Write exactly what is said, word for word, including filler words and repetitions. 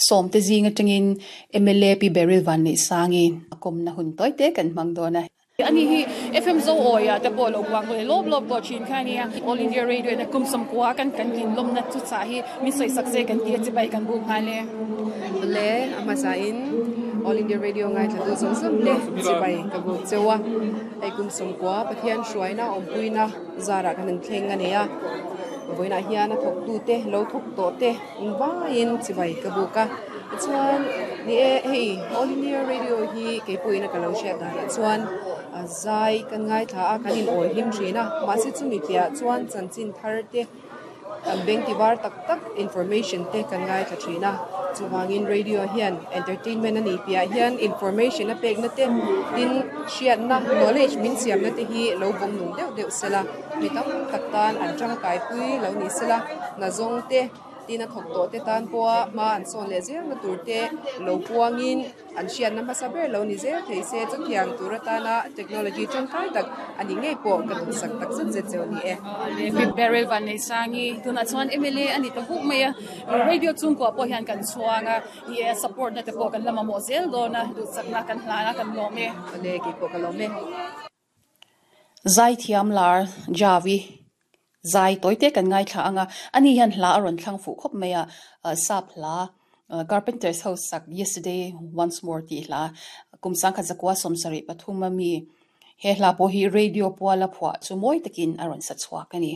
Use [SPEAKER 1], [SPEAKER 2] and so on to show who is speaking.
[SPEAKER 1] Sawm te zing atangin M L A Pi Baryl Vanneihsangi a kawmna hun tawite kan hmang dawn a. Ani hi F M Zo Awia te pawh lo puang le lawp lawp tawh thin kha ania. All India Radio na kum sawmkua kan kan tlin lawmna chu chah hi min sawi sak se kan ti a, chibai kan buk nghal e.
[SPEAKER 2] Le a hmasa in All India Radio ngaithla tu zawng zawng te chibai ka buk chewa. Hei kum sawmkua Pathian hruaina, awmpuina zarah kan an thleng ani a. Vawiinah hian a thawk tu te, lo thawk tawh te vaiin chibai ka buk a. Chuan ni e, hei All India Radio hi keipawhin a ka lo hriat danah chuan a zai kan ngaithla a, kan in awi hlim thin a. Mahse chumi piahah chuan chanchin thar te, kan beng tivar tak tak information te kan ngaithla thin a. Chuwangin radio hian entertainment ani piah hian information a pekna te, tin hriatna, knowledge min siamna te hi lo vawng nung deuh deuh sela, mi tam tak tan an tangkai pui lo ni sela, nazawng te, tin a thawk tawh te tan pawha hma an sawn leh zel na tur te lo puangin an hriatna hmasa ber lo ni zel thei se. Chutiang tur atana technology tangkai tak ani ngei pawh ka duhsak tak zet zet cheu ni e.
[SPEAKER 1] Pi Baryl Vanneihsangi tunah chuan M L A ani ta huk mai a. Radio chungkua pawh hian kan chhuang a, i support na te pawh kan la mamawh zel dawn a, duhsakna kan hlan a, kan lawm e.
[SPEAKER 2] Le, keipawh ka lawm e.
[SPEAKER 1] Zai thiam lar Javi zai tawite kan ngaithla anga. Ani hian hla a rawn thlang fuh khawp mai a, sap hla Carpenters ho sak "Yesterday Once More" tih hla, kum sangkhat zakua sawmsarih pathum ami. He hla pawh hi radio puala phuah chu mawi takin a rawn sa chhuak ani.